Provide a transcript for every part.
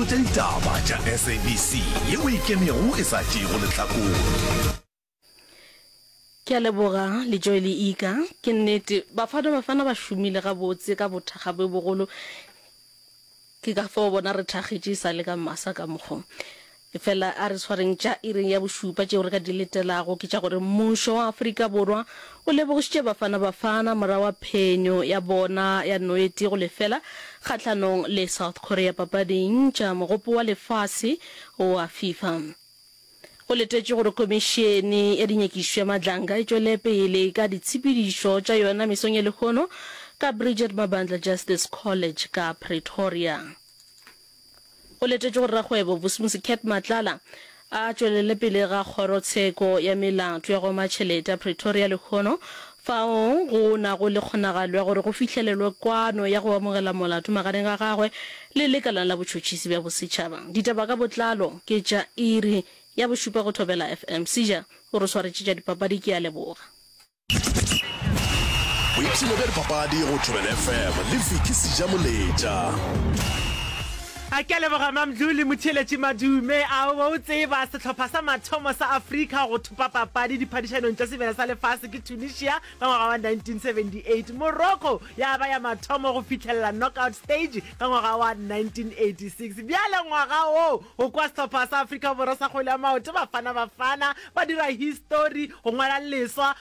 Dikgolo tša ditaba tša SABC yeo e ikemego e sa tšeego lehlakore. Ke a leboga Lejoe le Ika. Ke nnete, Bafana Bafana ba šomile gabotse ka bothakga bjo bogolo. Ke ka fao bona re thakgetše e sa le ka masa ka mokgo. Efela a re swareng tša iring ya bošupa tšeo re ka di letelago ke tša gore mmušo wa Afrika Borwa o lebogišitše Bafana Bafana morago ga phenyo ya bona ya noeti go lefela kgahlanong le South Korea papading tša Mogopo wa Lefase wa FIFA. Go letetšwe gore Khomišene ya Dinyakišišo ya Madlanga e tšwele pele ka ditshepedišo tša yona mesong ya lehono ka Bridget Mabandla Justice College ka Pretoria. Go letetšwe gore rakgwebo Vusimusi Cat Matlala a tšwelele pele ga kgorotsheko ya melato ya go oma tšhelete ya Pretoria lehono fao go nago le kgonagalo ya gore go fihlelelwe kwano ya go amogela molato magareng ga gagwe le Lekala la Botšhotšhisi bja Bosetšhaba. Ditaba ka botlalo ke tša iri ya bošupa go Thobela FM. Seja o re swaretše tša dipapadi, ke a leboga. Boipshino bja dipapadi go Thobela FM le Vicky Seja Moletša. A ke a leboga Mamdluli Motheeletši Madume. A o be o tseba sehlopha sa mathomo sa Afrika go thopa papadi diphadišanong tša Sebjana sa Lefase ke Tunisia ka ngwaga wa 1978. Morocco ya ba ya mathomo go fihlelela knockout stage ka ngwaga wa 1986. Bjale ngwaga wo go kwa sehlopha sa Afrika Borwa sa kgwele ya maoto Bafana Bafana ba dira histori go ngwala leswa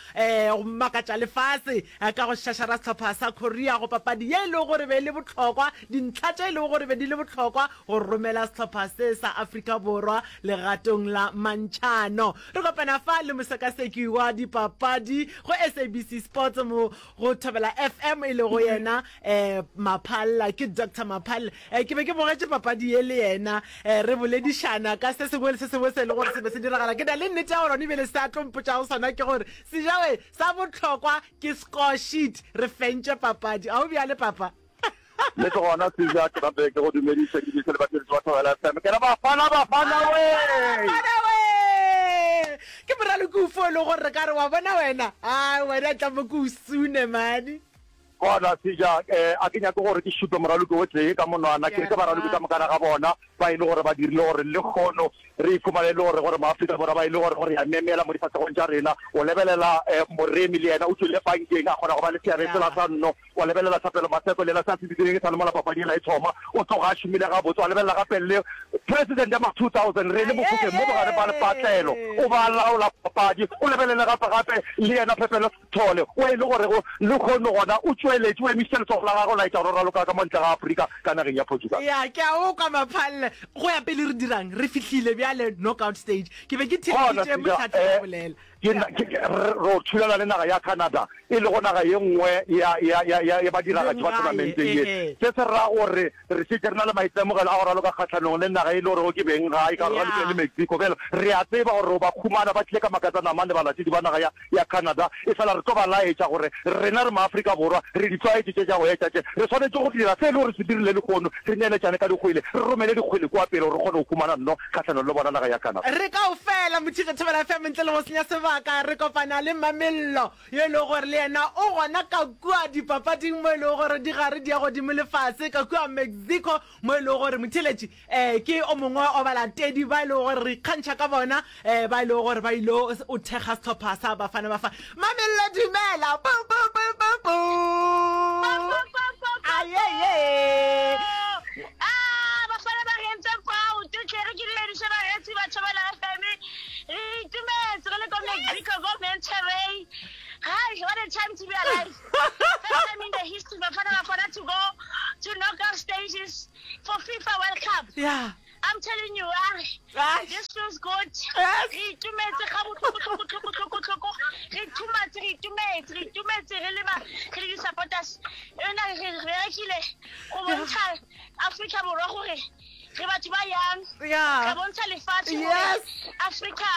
go makatša lefase ka go šašara sehlopha sa Korea go papadi ye e lego gore be e le bohlokwa, dintlha tše e lego gore be di le bohlokwa go romela sehlopha se sa Afrika Borwa legatong la mantšhano. Re kopana fa le mosekaseki wa dipapadi go SABC Sports mo go Thobela FM e lego yena eh, Maphalla, ke Doctor Maphalla. Eh, ke be ke bogetše papadi ye le yena eh, re boledišana ka se sengwe le se sengwe se e le gore se be se diragala. Ke na le nnete ya gore gone ebile se a tlo mpotšago sona ke gore Sejawe sa bohlokwa ke score sheet, re fentše papadi. A o bjale papa? Le ke gona Seja, ke gape ke go dumediše ke diše le batheeletši ba Thobela FM. Ke re Bafana Bafana we! Bafana we! Ke moraloki ofe o e lego gore re ka re wa bona wena? Ai wena tla mo ke o sune mane. Gona Seja, eh, a ke nyake gore ke šupe moraloki o tee ka monwana, ke re ke baraloki ka mokana ga bona ba e le gore ba dirile gore lekgono re ikhumane e le gore gore maAfrika Borwa ba e le gore gore ya memela mo difahlegong tša rena. O lebelela eh, Moremi le yena o tšwile pankeng a kgona go ba le seabe sela sa nno. Wa lebelela Thapelo Maseko le yena se a se dirileng e sa le mola papadi yela e thoma, o tloga a šomile gabotse. Wa lebelela gape le President ya ma 2000 Rene Mofokeng mo bogare ba lepatlelo o ba laola papadi. O lebelele gape gape le yena Phepelo Sithole o e le gorego lehono gona o tšweletše o emišitše letsogo la gagwe o laetša gore o raloka ka mo ntle ga Afrika ka nageng ya Portugal. Ya, ke a o kwa Maphalle. Go ya pele re dirang? Re fihlile bjale knockout stage. Ke be ke Gona theeditše Seja, Mohlahli a eh, bolela. Ke, ke, ke, re ro thulana le naga ya Canada, e lego naga ye nngwe ya, ya, ya, ya, ya badiragatši ba Benggae, tournamenteng ye. ehe. Se se ra gore re šetše re na le maitemogelo a go raloka kgahlanong le naga e le gorego ke benggae, ka gore ralokile Ya. le Mexico. Bjale re a tseba gore ro ba khumana ba tlile ka makatsanamane balatedi ba naga ya, ya Canada, efela re tlo ba laetša gore rena re Maafrika Borwa, re di tlwaetše tše tša go etša tše. Re swanetše go dira se e le gore se dirile lehono, re neeletšane ka dikgwele, re romele dikgwele kua pele gore re kgone go humana nno kgahlanong le bona naga ya Canada. Re kaofela, Motšhitša Thobela FM ntle le go senya sebaka re kopana le Mamello yo e lego gore le yena o gona ka kua dipapading mo e lego gore di gare di ya godimo le fase ka kua Mexico mo e lego gore motheeletši um ke o mongwe wa balatedi ba e lego gore re ikgantšha ka bona um ba e lego gore ba ile o thekga sehlopha sa Bafana Bafana. Mamello dumela! Pu, pu, pu, pu, pu. Ayeye! Ah, Bafana ba re entse proud hle re ke dumediše bareetsi ba Thobela FM re itumetse re le ko Mexico ko Monterrey Hi, what a time to be alive first time in the history Bafana Bafana to go to knockout stages for FIFA World Cup Yeah. I'm telling you, ah, Ah. this feels good. Yes. Re itumetse ga botlhoko tlhoko tlhoko tlhoko tlhoko. Re thumatse re itumetse re itumetse re le ba re le di-supporters. Yona re re berekile go bontsha Africa Borwa gore re batho ba yang. Yeah. Re bontsha lefatshe gore Yes. Africa,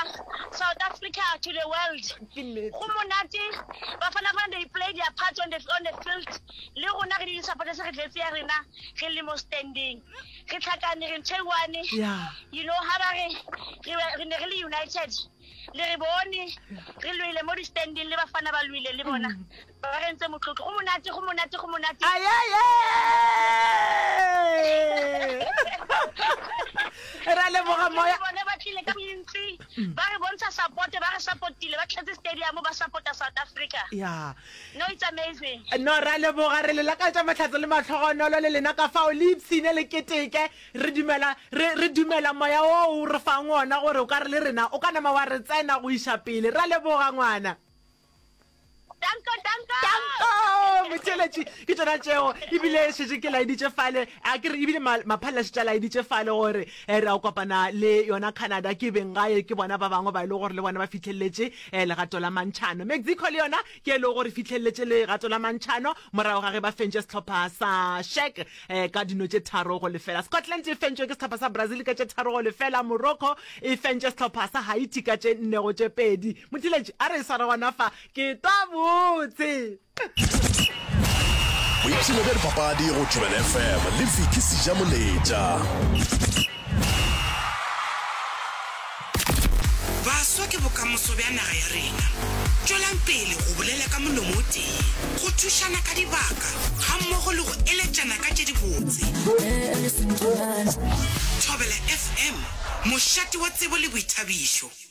South Africa to the world. Ke nnete. Go monate Bafana Bafana they play their part on the on the field. Le rona re le di-supporters re tletse ya rena re le mo standing. Re tlhakane re ntho e one. Yeah. You know ha ba re re re ne re le united le re bone re lwele mo di-standing le bafana ba lwele le bona ba re ntse motlotlo go monate go monate go monate Ayeye! ra leboga moya. Bone ba tlile ka bontsi ba re bontsha support ba re supportile ba tletse stadium ba supporta South Africa. Yeah. No it's amazing. No ra leboga re le lakaletša mahlatso le mahlogonolo le lena ka fao le ipshine le keteke re dumela re re dumela moya wo o re fang wona gore o ka re le rena o ka nama wa re tsena go iša pele ra leboga ngwana. Danko, danko! Danko! Motheeletši, ke tšona tšeo. Ebile šetše ke laeditše fale, a ke re ebile Maphalela šetše a laeditše fale gore eh, re a kopana le yona Canada, ke beng gae, ke bona ba bangwe ba e lego gore le bona ba fihlelletše eh, legato la mantšhano. Mexico le yona ke e lego gore fihlelletše legato la mantšhano morago ga ge ba fentše sehlopha sa Czech eh, ka dino tše tharo go lefela. Scotland e fentšwe ke sehlopha sa Brazil ka tše tharo go lefela. Morocco e fentše sehlopha sa Haiti ka tše nne go tše pedi. Mothiletši, a re e sware gona fa. Ke twa botse. Boipshino bja dipapadi go Thobela FM le Vicky Sejamoletša. Baswa ke bokamoso bja naga ya rena. Tšwelang pele go bolela ka molomo o tee, go thušana ka dibaka gammogo le go eletšana ka tše dibotse. Thobela FM, mošate wa tsebo le boithabišo.